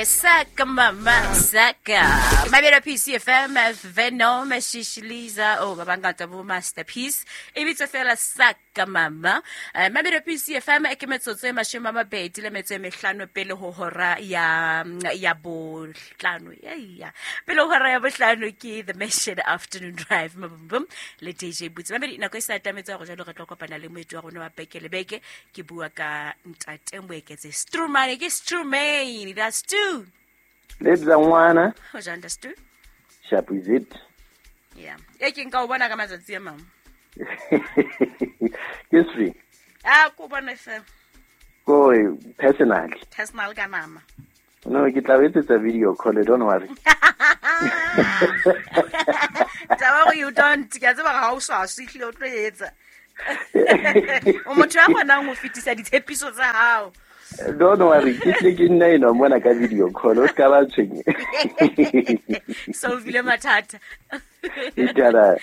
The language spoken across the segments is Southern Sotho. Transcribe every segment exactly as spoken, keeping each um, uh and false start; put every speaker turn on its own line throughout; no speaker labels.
Saka mama saka mabelo P C F M Venom Shishiliza oh ba bangata bo masterpiece e bitse fela saka mama. Mabelo P C F M e ke metsotso e mashome a mabedi le metso e mehlano pele ho hora ya ya bohlano ya ya pele ho hora ya bohlano ke The Mission Afternoon Drive mabum le D J Boots. Mabedi nako e sa atametse go jalo re tlo kopana le moeti wa rona wa beke le beke ke bua ka ntate Moeketsi Strumane ke Strumane that's two.
Lebza ngwana.
Ho jang that's two.
Sharp is it?
Yeah. E ke nka o bona ka matsatsi a mang.
Ke swi.
Ah ko bona fe.
Ko personal.
Personal ka nama.
No, ke tla etsetsa video call, don't worry.
Taba you don't ke tseba ga o sa sihle o tlo etsa. O motho a kgonang ho fetisa ditshepiso tsa hao.
Don't worry, ke tle ke nna eno mona ka video call, o ska ba tshwenye.
So vile mathata.
Itara.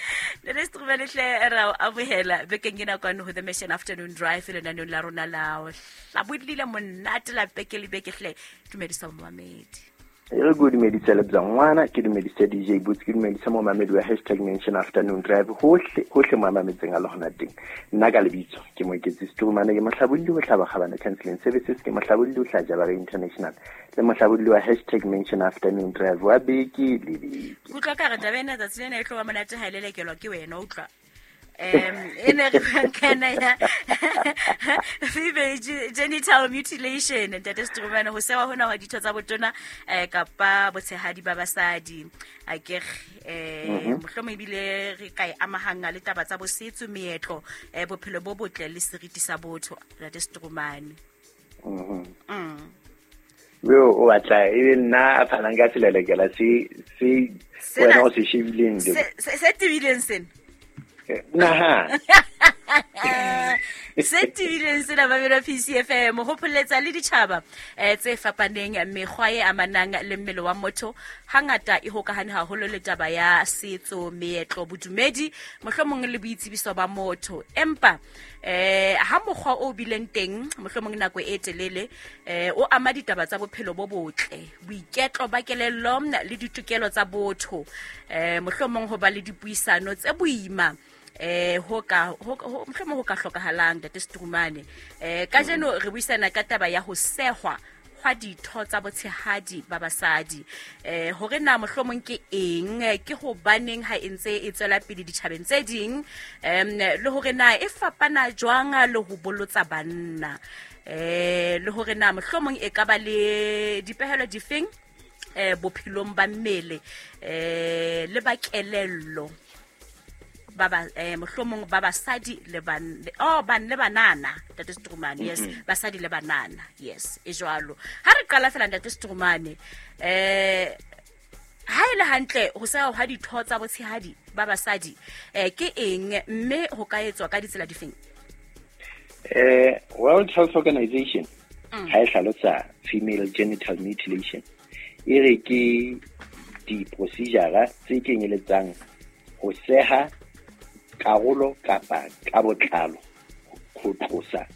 Le re strumele hle ra o amohela bekeng ena kwano ho The Mission Afternoon Drive le lenaneo la rona la hlabodile monate la beke le beke hle. Dumedisa momamedi.
E re go dumedisa Lebza ngwana, ke dumedisa D J Boots, ke dumedisa momamedi wa hashtag Mention Afternoon Drive hohle hohle mo mametseng a le hona teng. Nna ka lebitso ke Moeketsi Strumane, ke mohlabolli ho hlaba kgabane Counseling Services, ke mohlabolli ho hlaja Jabare International le mohlabolli wa hashtag Mention Afternoon Drive wa beke le beke.
Kutlwa ka re taba ena tsatsi lena e tlo ba monate ha e lelekelwa ke wena utlwa. Um ene re kana ya female genital mutilation ntate Strumane ho sewa hona hwa ditho tsa botona eh kapa botshehadi ba basadi a ke eh mohlomo ebile re ka e amahanga le taba tsa bosetso meetlo eh bophelo bo botle le seriti sa botho ntate Strumane.
Mhm.
Mm.
Yo o batla e nna a phalang ka selelekela se se wena o se shebileng
se se tibileng sena.
Naha.
Se tibileng sena ba P C F M ho pholetsa le ditjhaba eh tse fapaneng mekgwa e amanang le mmele wa motho hangata e hokahane haholo le taba ya setso meetlo bodumedi mohlomong le boitsebiso ba motho empa eh ha mokgwa o bileng teng mohlomong nako e telele eh o ama ditaba tsa bophelo bo botle boiketlo ba kelello le ditokelo tsa botho eh mohlomong ho ba le dipuisano tse boima eh ho ka ho mohlomong ho ka hlokahalang ntate Strumane. Eh kajeno re buisana ka taba ya ho sehwa hwa ditho tsa botshehadi ba basadi eh hore na mohlomong ke eng ke hobaneng ha e ntse e tswela pele ditjhabeng tse ding em le hore na e fapana jwang le ho bolotsa banna eh le hore na mohlomong e ka ba le dipehelo difeng eh bophelong ba mmele eh le ba kelello baba eh mohlomong ba basadi le ban oh ban le banana ntate Strumane. Yes, basadi le banana, yes e jwalo. Ha re qala fela ntate Strumane eh ha ile hantle ho sa ha ditho tsa botshehadi ba basadi eh ke eng mme ho ka etswa ka ditsela difeng?
Eh World Health Organization ha e hlalosa female genital mutilation e re ke di procedure tse kenyeletsang ho seha karolo kapa ka botlalo ho tlosa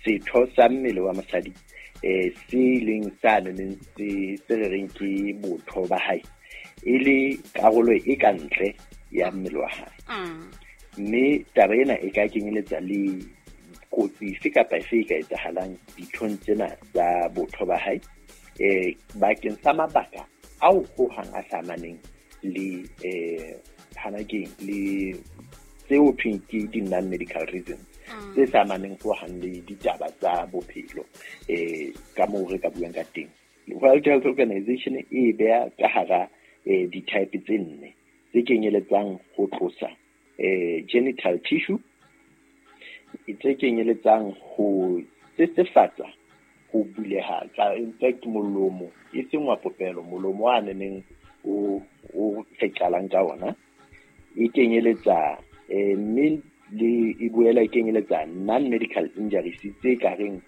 setho sa mmele wa mosadi eh se leng sa neng se se reng ke botho ba hae e le karolo e ka ntle ya mmele wa hae. Mme taba ena e ka kenyeletsa le kotsi efe kapa efe e ka etsahalang dithong tsena tsa botho ba hae eh bakeng sa mabaka ao hohang a sa amaneng le eh hanakeng le tseo thweng ke di-non-medical reasons tse sa amaneng hohang le ditaba tsa bophelo eh ka moo re ka buang ka teng. World Health Organization e beha ka hara eh di-type tse nne tse kenyeletsang ho tlosa eh genital tissue, tse kenyeletsang ho sesefatsa ho buleha ka in fact molomo e seng wa popelo molomo wa neneng o o feqalang ka ona e kenyeletsa eh mme le e boela e kenyeletsa non-medical injuries tse ka reng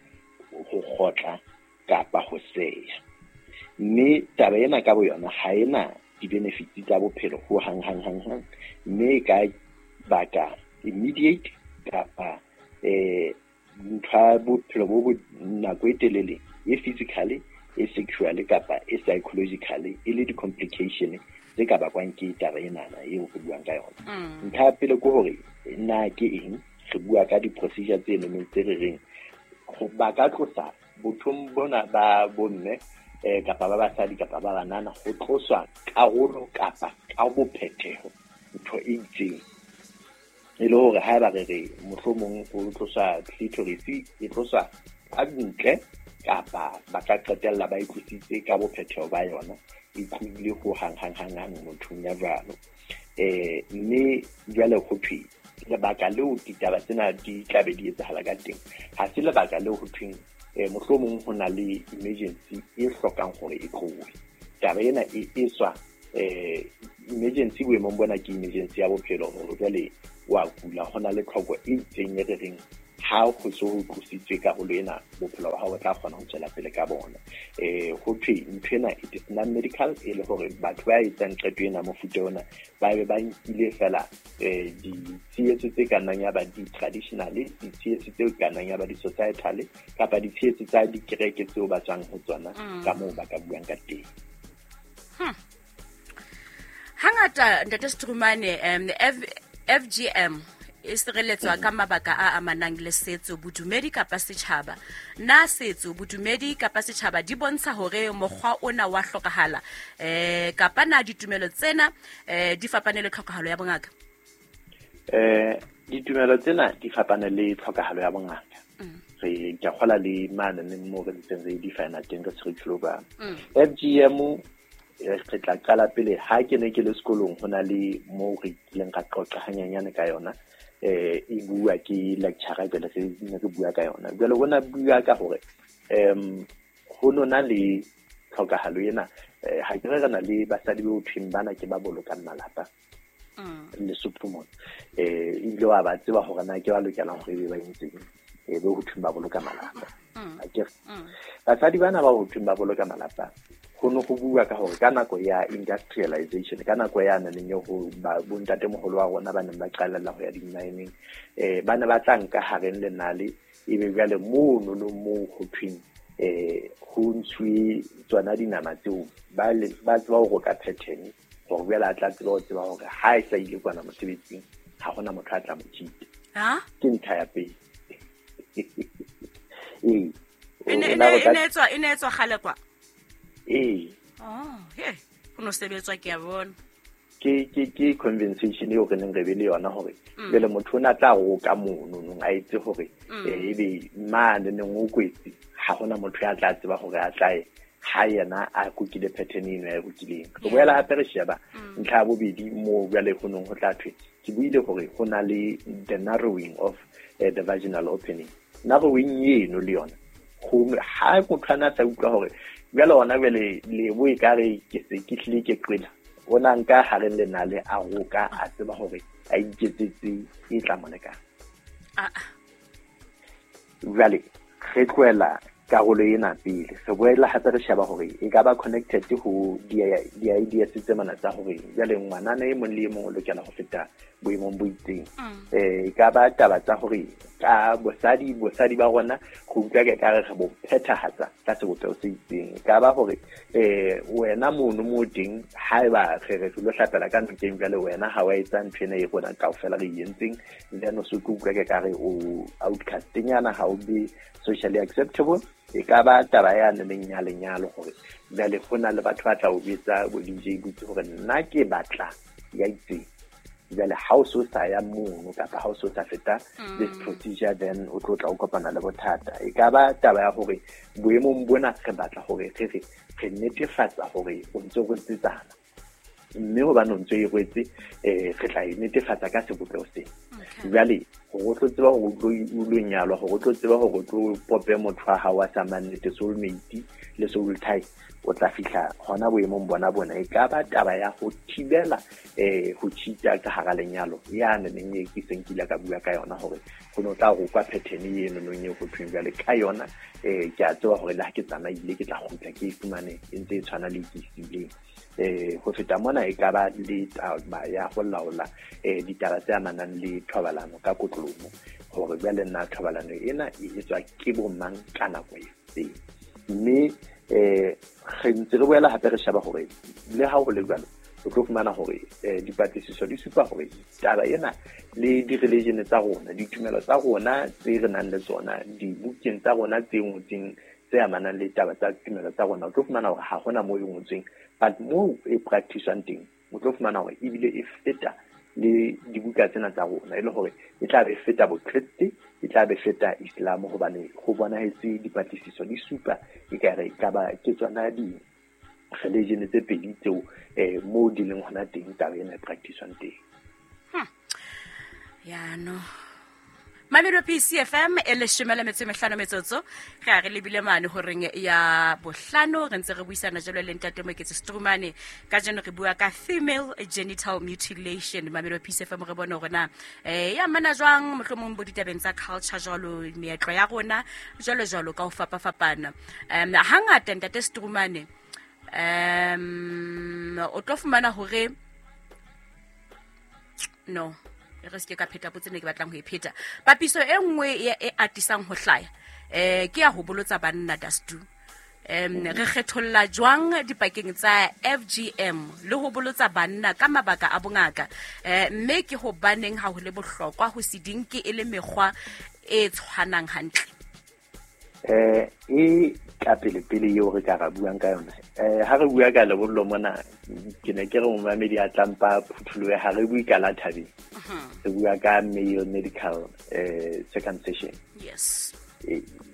ho kgotla kapa ho seya. Mme taba ena ka boyona ha ena di-benefits tsa bophelo ho hang hang hang hang mme e ka baka immediate kapa eh ntho ya bophelo bo bo nako e telele e physically e sexual kapa e psychological e le di-complication tse ka bakwang ke taba enana eo re buang ka yona. Ntlha ya pele ke hore na ke eng re bua ka di-procedure tse nonong tse re reng ba ka tlosa bothong bona ba bomme eh kapa ba basadi kapa ba banana ho tloswa karolo kapa ka bophetheho ntho e itseng e le hore haeba re re mohlomong ho tloswa clitoris e tloswa ka ntle kapa ba ka qetella ba e tlositse ka bophetheho ba yona e tlohile ho hang hang hang hang mothong ya jwalo. Eh mme jwale ho thwe lebaka leo ditaba tsena di tlabe di etsahala ka teng ha se lebaka leo ho thweng eh mohlomong ho na le emergency e hlokang hore e tlohe. Taba ena e etswa eh emergency boemong bona ke emergency ya bophelo hore jwale wa kula ho na le tlhoko e itseng e re reng ha ho so ho tlositswe karolo ena bophelo ba hao bo tla kgona ho tswela pele ka bona. Eh ho thwe ntho ena it is non medical e le hore batho ba etsang qeto ena mofuta ona ba be ba nkile fela eh ditshehetso tse ka nnang ya ba di-traditional, ditshehetso tse ka nnang ya ba di-societal kapa ditshehetso tsa dikereke tseo ba tswang ho tsona ka moo ba ka buang ka teng.
Hmm. Hangata Ntate Sentrumane um F G M e sireletswa ka mabaka a amanang le setso, bodumedi kapa setjhaba. Na setso, bodumedi kapa setjhaba di bontsha hore mokgwa ona wa hlokahala eh kapa na ditumelo tsena eh di fapane le tlhokahalo ya bongaka?
Eh ditumelo tsena di fapane le tlhokahalo ya bongaka. Re ke kgola le mane le mo re ntseng re define teng ka curriculum. F G M re tla qala pele ha ke ne ke le sekolong ho na le mo re kileng ka qoqa hanyanyane ka yona eh e bua ke lecturer jwale re ne re bua ka yona jwale bona bua ka hore em ho nona le tlhokahalo ena ha ke re re na le basadi bo thweng bana ke ba bolokang malapa Lesotho mona eh ebile wa ba tseba hore na ke ba lokelang hore ebe ba entseng e be ho thweng ba boloka malapa. Akere basadi bana ba ho thweng ba boloka malapa ho no go bua ka hore ka nako ya industrialization ka nako ya neng e ho ba bontatemoholo wa rona ba neng ba qalella ho ya di-mining eh ba ne ba tla nka hareng lenale ebe jwale mono no moo ho thweng eh ho ntshuwe tsona dinama tseo ba ba tseba ho roka pattern hore jwale a tla tseba ho tseba hore ha e sa ile kwana mosebetsing ha hona motho a tla mo cheat. Ke ntlha ya pele. Ee
e ne e etswa e ne etswa kgale kwa.
Eh.
Oh, he, ho no sebetswa ke a bona.
Ke ke ke conversation eo re neng re be le yona hore jwale motho ona tla roka mono nong a itse hore eh ebe mane neng o kwetse ha hona motho ya tla tseba hore a tlae ha yena a kukile pattern eno ya kukileng. Re boela hape re sheba ntlha ya bobedi mo jwale ho nong ho tla thwe ke buile hore ho na le the narrowing of uh, the vaginal opening. Narrowing eno le yona ho ha motho ana sa utlwa hore jwale ona jwale le bo e ka re ke se ke hlile ke qela ona nka hareng lenale a roka a tseba hore a iketsetse e tla moneka.
Ah ah.
Jwale re tlohela karolo ena pele re boela hape re sheba hore e ka ba connected ho di-ideas tse mana tsa hore jwale ngwanana e mong le e mong o lokela ho feta boemong bo itseng. Eh e ka ba taba tsa hore ka bosadi bosadi ba rona go utlwa ke ka re re bo phethahatsa ka sebopeho se itseng. E ka ba hore eh wena mono mo teng haeba re re lo hlapela ka nokeng jwale wena ha wa etsa ntho ena e rona kaofela re entseng then o se utlwa ke ka re o outcast-nyana ha o be socially acceptable. E ka ba taba ya neng ya lenyalo hore jwale ho na le batho ba tla o betsa bo D J butse hore nna ke batla ya itseng jwale ha o so sa ya mono kapa ha o so sa feta this procedure then o tlo tla o kopana le bothata. E ka ba taba ya hore boemong bona re batla hore re re re netefatsa hore o ntse o rwetsetsana mme hobane o ntse e rwetse eh re tla e netefatsa ka sebopeho sena. Jwale hore o tlo tseba hore o tlo o lo nyalwa hore o tlo tseba hore o tlo pope motho wa hao wa sa mannete soulmate le soul tie o tla fihla hona boemong bona bona. E ka ba taba ya ho thibela eh ho cheat-a ka hara lenyalo ya neng e ke seng kile ka bua ka yona hore ho no tla rokwa pattern eno nong e ho thweng jwale ka yona eh ke a tseba hore le ha ke tsamaile ke tla kgutla ke e fumane e ntse e tshwana le ke sileng. Eh ho feta mona e ka ba le taba ya ho laola eh ditaba tse amanang le thobalano ka kotlolomo hore jwale nna thobalano ena e etswa ke bo mang ka nako e itseng. Mme Eh re ntse re boela hape re sheba hore le ha ho le jwalo o tlo fumana hore dipatlisiso di supa hore taba ena le di-religion tsa rona, ditumelo tsa rona tse re nang le tsona, dibukeng tsa rona tse ngotsweng tse amanang le taba tsa tumelo tsa rona, o tlo fumana hore ha hona moo e ngotsweng, but moo e practice-wang teng o tlo fumana hore ebile e feta le dibuka tsena tsa rona, e le hore e tla be feta bokreste, e tla be feta Islam, hobane ho bonahetse dipatlisiso di supa e ka re ka ba ke tsona di religion tse pedi tseo eh mo di leng hona teng taba ena e practice-wang teng.
Hmm. Ya no. Mamelodi P C F M e leshome le metso e mehlano metsotso re a re lebile mane horeng ya bohlano re ntse re buisana jalo le ntate Moeketsi Strumane. Kajeno re bua ka female genital mutilation. Mamelodi P C F M re bone hore na eh ya mana jwang mohlomong bo ditabeng tsa culture jwalo meetlo ya rona jwalo jwalo ka ho fapafapana. Um hangata ntate Strumane um o tlo fumana hore no re se ke ka pheta potse ne ke batlang ho e pheta. Papiso e nngwe e atisang ho hlaya eh ke ya ho bolotsa banna dastu. Em re kgetholla jwang dipakeng tsa F G M le ho bolotsa banna ka mabaka a bongaka, eh mme ke hobaneng ha ho le bohlokwa ho se dinke e le mekgwa e tshwanang hantle?
Eh e ka pele pele eo re ka ra buang ka yona, eh ha re bua ka lebollo mona ke ne ke re momamedi a tlampa phuthuloe, ha re bue ka la thabeng, re bua ka male medical eh circumcision.
Yes.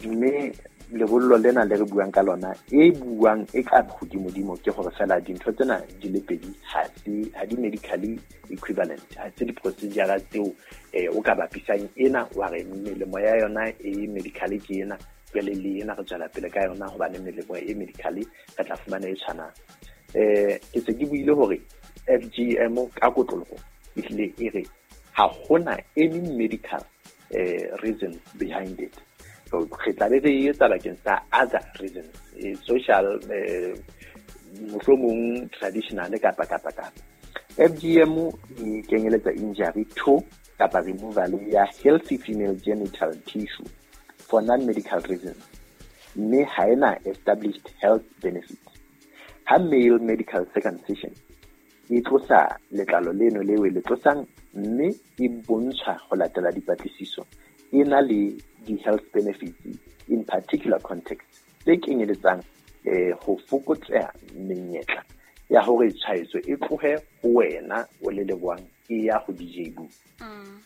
Mme lebollo lena le re buang ka lona e buang e ka hodimodimo ke hore fela dintho tsena di le pedi ha se ha di medically equivalent, ha se di-procedure tseo eh o ka bapisang ena wa re melemo ya yona e medically ke ena pele le ena re tswela pele ka yona hobane melemo e medically re tla fumana e tshwanang. Eh ke se ke buile hore F G M ka kotloloho ehlile e re ha hona any medical eh reason behind it. So re tla be re etsa bakeng sa other reasons, eh, social eh mohlomong traditional kapa kapa kapa. F G M e kenyeletsa injury to kapa removal ya healthy female genital tissue for non-medical reasons, mme ha ena established health benefits. Ha male medical circumcision e tlosa letlalo leno leo le tlosang mme e bontsha ho latela dipatlisiso e na le di-health benefits in particular context tse kenyeletsang eh ho fokotseha menyetla ya hore tshwaetso e tlohe ho wena o le leboang e ya ho D J Boo.
Mm.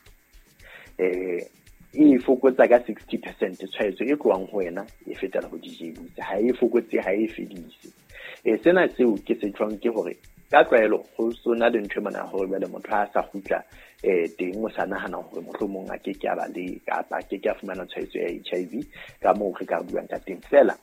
Eh e fokotsa ka sixty percent tshwaetso e tlohang ho wena e fetela ho D J Boo, ha e fokotse ha e fedise. Eh sena seo ke se tjhong ke hore ka tlwaelo ho sona le ntho mona hore jwale motho ha sa kgutla eh teng o sa nahana hore mohlomong a ke ke a ba le kapa ke ke a fumana tshwaetso ya H I V ka moo re ka buang ka teng. Fela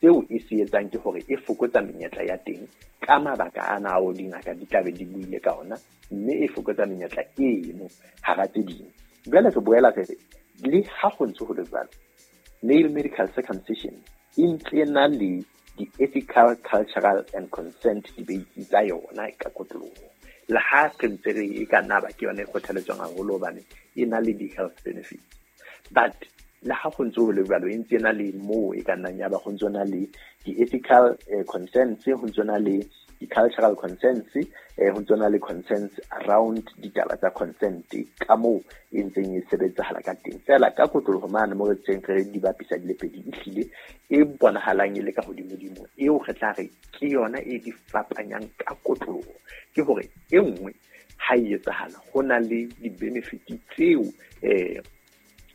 seo e se etsang ke hore e fokotsa menyetla ya teng ka mabaka ana ao dingaka di tlabe di buile ka ona, mme e fokotsa menyetla eno hara tse ding. Jwale re boela re re le ha ho ntse ho le jwalo, male medical circumcision e ntse na le di-ethical, cultural and consent debates tsa yona ka kotloloho. Le ha re ntse re e ka nna ba ke yona e kgothaletswang haholo hobane e na le di-health benefits, but le ha ho ntse ho le jwalo e ntse na le moo e ka nnang ya ba ho ntse na le di-ethical eh, concerns, ho ntse na le di-cultural concerns, eh, ho ntse na le concerns around ditaba tsa consent ka moo e ntseng e sebetsahala ka teng. Fela ka kotloloho mane mo re tseng re di bapisa di le pedi, ehlile e bonahalang e le ka hodimodimo eo re tla re ke yona e di fapanyang ka kotloloho ke hore e nngwe ha e etsahala ho na le di-benefit tseo eh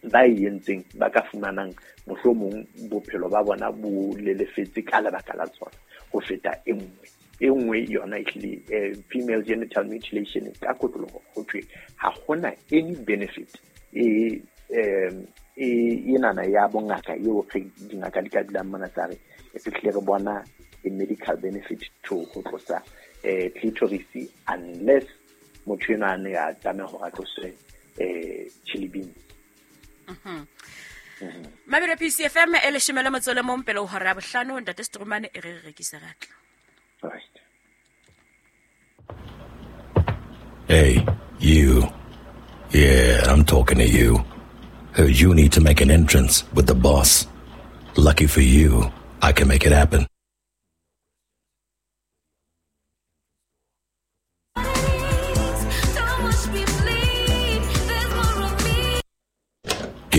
ba e entseng ba ka fumanang mohlomong bophelo ba bona bo lelefetse ka lebaka la tsona ho feta e nngwe. E nngwe yona ehlile eh, female genital mutilation ka kotloloho ho thwe ha hona any benefit e eh e enana ya bongaka eo re dingaka di ka dulang mona tsa re e fihlile re bona a medical benefit to ho tlosa eh clitoris unless motho ena a ne a tlameha hore a tloswe eh chili beans.
Mhm. Mamelodi P C F M e leshome le motso le mong pele ho hora ya bohlano. Ntate Strumane e re re rekise ratla.
Right.
Hey, you. Yeah, I'm talking to you. Heard you need to make an entrance with the boss. Lucky for you, I can make it happen.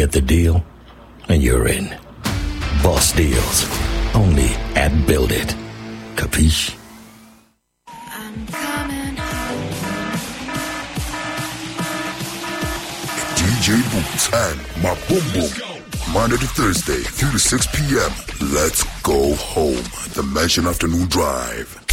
Get the deal, and you're in. Boss deals. Only at Build It. Capiche?
I'm coming home.
D J Boots and my Boom Boom. Monday to Thursday, three to six P M. Let's go home. The Mansion Afternoon Drive.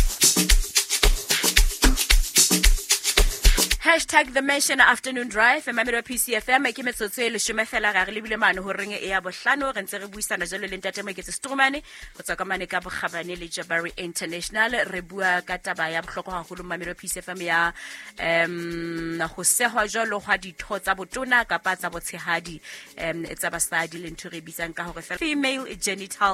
Hashtag The Mansion Afternoon Drive, mamelo P C F M. Ke metsotso e leshome fela ga re lebile mane ho reng e ya bohlano. Re ntse re buisana jalo le ntate Moeketsi Strumane go tswa ka mane ka bokgabane le Jabari International. Re bua ka taba ya bohlokwa haholo, mamelo P C F M, ya um go sehwa jwalo gwa ditho tsa botona kapa tsa botshehadi um tsa basadi, le ntho re bitsang ka hore female genital